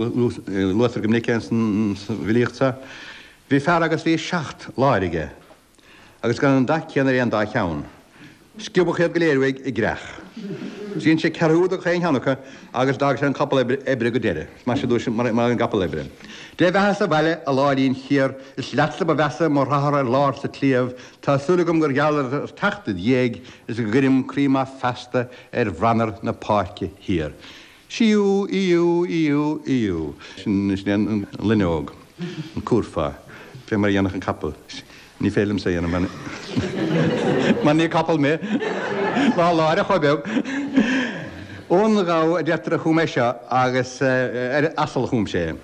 Luaitear go minic é san bhfilíocht seo. Bhí fear agus bhí seacht láir aige agus gan an dath céanna ar aon dá cheann. Sciobadh iad go léir uaidh i gcreach. Dhein sé ceathrú de chaon cheann acu agus d'fhág sé an capall oibre go deireadh. Mar sin dúirt mar an gcapall oibre. Dé bheatha sa bhaile, a láirín chiar, is leatsa ba mheasa mo rathair ar lár sa tsliabh, tá súil agam gur gheall ar teacht id dhiaidh is go gcuirim croí maith feasta ar bhranar na páirce thiar. Síú, íú, íú, íú. Sin é an loinneog, an cúrfá, fé mar a dhéanfadh an capall. Ní féidir liomsa é a dhéanamh mar ní capall mé, ná láir chomh beag. Ón ghabha a deirtear a chum é seo agus ar asal a chum sé é.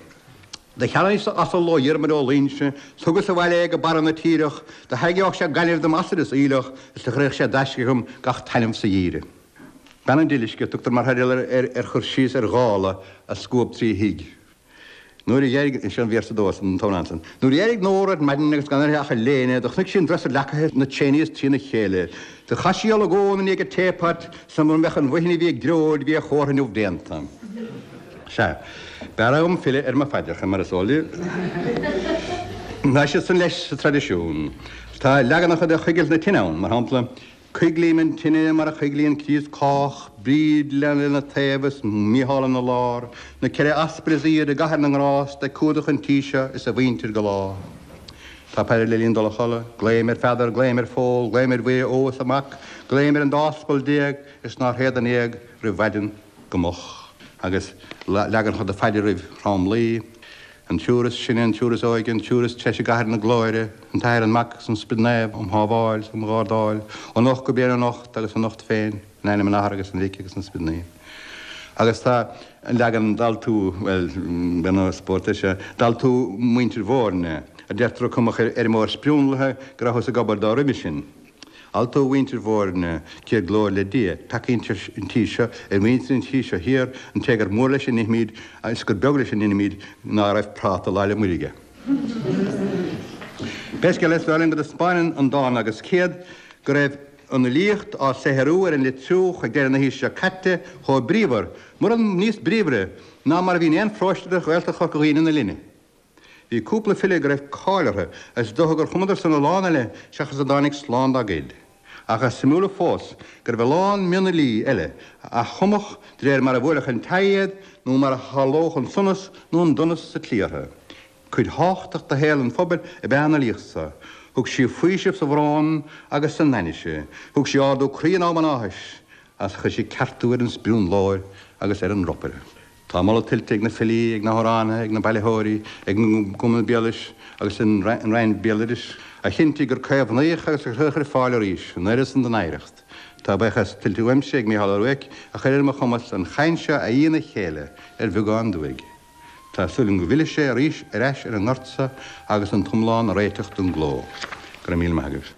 Do cheannaíos asal ó Dhiarmaid Ó Loingsigh, 's thugas abhaile é go barra na tíreach, do thairgeodh sé gaineamh dom asal is aoileach, is do chuirfeadh sé d'aisce agam gach taitneamh sa gheimhreadh. Bean an Dilisce a tugtar mar theideal ar chur síos ar ghála a scuab trí thigh. Nuair a d'éirigh, seo an véarsa dó as an t-amhrán san. Nuair a d'éirigh Nóra ar maidin agus gan uirthi ach a léine, do chonaic sí an dresser leacaithe 'na tréine is trína chéile. Do chaith sí olagón i ndiaidh an teapot, 's mura mbeadh an bhuidhin a bhí ag dreoil, bhí a chomhartha inniu déanta. Sea, b'fhearr dhom filleadh ar mo phaidreacha, mar is eol daoibh. Tá siad san leis sa traidisiún. Tá leaganacha de choigilt na tine ann, mar shampla, Coiglím an tine mar a choiglíonn Críost cách, Bríd lena taobh is Mícheál ina lár, na ceithre aspail is iad i gcathair na ngrást ag cumhdach an tí seo is a mhuintir go lá. Tá paidir le linn dul a chodladh, Glaoim ar Pheadar, glaoim ar Phól, glaoim ar Mhuire ó is a Mac, glaoim ar an dá aspal déag is nár théad in éag roimh mhaidin go moch. Agus leaganacha de phaidir roimh thromluí. An triúr is sine, an triúr is óige, an triúr is treise i gcathair na glóire, an tAthair, an Mac agus an Sprid Naomh um shábháil 's um ghardáil, anocht go bliain anocht agus anocht féin, in ainm an Athar agus an Mhic agus an Sprid Naoimh. Agus tá an leagan d'altú, bhuel, b'fhéidir spórt é seo, d'altú muintir Bhoirne, a deirtear a cumadh ar fheirmeoir sprionlaithe go rabhthas ag obair dó roimhe sin. Altú mhuintir Bhoirne, céad glóir le Dia, peacaí an tí seo, ar mhuintir an tí seo thiar, an té gur mór leis a n-ithimíd is gur beag leis a n-inimíd ná raibh práta Lá 'le Muire aige. Pé scéal é, is dóigh liom go dtaispeáineann an dán agus céad go raibh an fhilíocht á saothrú ar an Leitriúch ag deireadh na haoise seo caite chomh bríomhar, mura níos bríomhaire, ná mar a bhí in aon pharóiste de Ghaeltacht Chorca Dhuibhne ina linne. Bhí cúpla file go raibh cáil orthu agus is dócha gur chumadar san a lán eile seachas a dtáinig slán dá gcuid. Ach is suimiúla fós go raibh a lán mionfhilí eile a chumfadh de réir mar a bhuailfeadh an t-ádh iad nó mar a tharlódh an sonas nó an donas sa tslí orthu. Cuid thábhachtach de shaol an phobail ab ea an fhilíocht so. Thug sí faoiseamh sa bhrón agus san ainnise. Thug sí ardú croí in am an áthais agus chuir sí ceartú ar an sprionlóir agus ar an ropaire. Tá moladh tuillte ag na filí, ag na hamhránaithe, ag na bailitheoirí, ag an gCumann Béaloidis agus an Roinn Béaloidis, a chinntigh gur caomhnaíodh agus a cuireadh ar fáil arís an oiread san den oidhreacht. Tá buíochas tuillte uaimse ag Mícheál Ó Ruairc a chuir ar mo chumas an chaint seo a fhí ina chéile ar bheagán dúigh. Tá súil agam go bhfillfidh sé arís ar ais ar an ngort seo agus an t-iomlán a réiteach don gcló. Go raibh míle maith agaibh.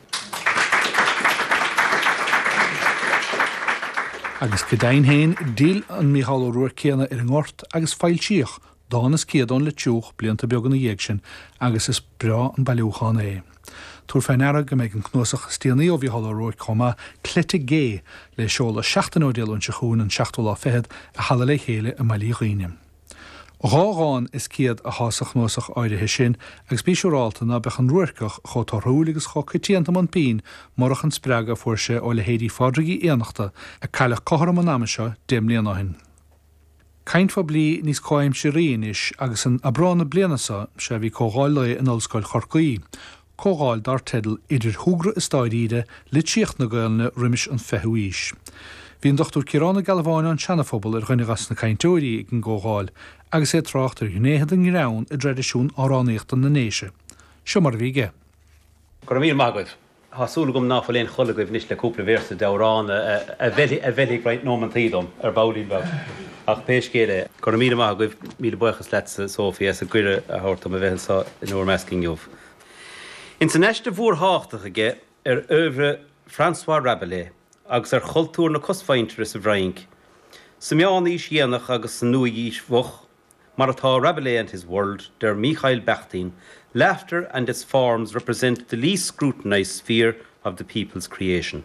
Agus go deimhin féin, d'fhill an Mícheál Ó Ruairc céanna ar an ngort agus foilsíodh Dán is Céad ón Leitriúch blianta beaga ina dhiaidh sin agus is breá an bailiúchán é. Tabhair fé ndeara go mbeidh an cnuasach is déanaí ó Mhícheál Ó Ruairc chomh maith, Cleite Gé, le seoladh seachtain ó Dé Luain seo chugainn, an seachtú lá fichead, i Halla Le Chéile i mBaile Uí Dhuibhne. Dhá dhán is céad athá sa chnuasach áirithe sin agus bí siúrálta ná beadh an Ruairceach chomh torthúil agus chomh coitianta i mbun pinn murach an spreagadh a fuair sé ó leithéidí Phádraig Uí Fhiannachta, a cailleadh cothrom an ama seo deich mbliana ó shin. Caint phoiblí níos comhaimsearthaí anois agus in Aibreán na bliana seo, sea bhí comhdháil lae in Ollscoil Chorcaí, comhdháil dar teideal Idir Shúgradh is Dáiríre, Litríocht na Gaelainne roimis an Fichiú Aois. Bhí an Dr Ciarán Ó Gealbháin ón Seanaphobal ar dhuine dhas na cainteoirí ag an gcomhdháil agus é ag trácht ar ghnéithe den ghreann i dtraidisiún amhránaíochta na nDéise. Seo mar a bhí aige. Go raibh míle maith agaibh. Tá súil agam ná fuil aon chol agaibh anois le cúpla véarsa d'amhrán a mheilfidh roinnt nóimeantaí dom ar baillín beag. Ach pé scéal é, go raibh míle maith agaibh, míle buíochas leatsa, Sophie, as an gcuireadh a thabhairt dom a bheith anseo in bhur measc inniu. Ins an aiste mhór thábhachtach aige ar oeuvre François Rabelais agus ar chultúr na cosmhuintire sa bhFrainc sa Meánaois Dhéanach agus sa Nua-Aois Mhoch, mar atá Rabelais and his World, deir Mikhail Bakhtin, laughter and its forms represent the least scrutinized sphere of the people's creation.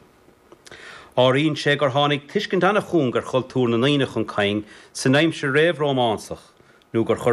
Áiríonn sé gur tháinig tuiscint an-chúng ar chultúr na ndaoine chun cinn san aimsir réamh-Rómánsach. Nó gur chuir.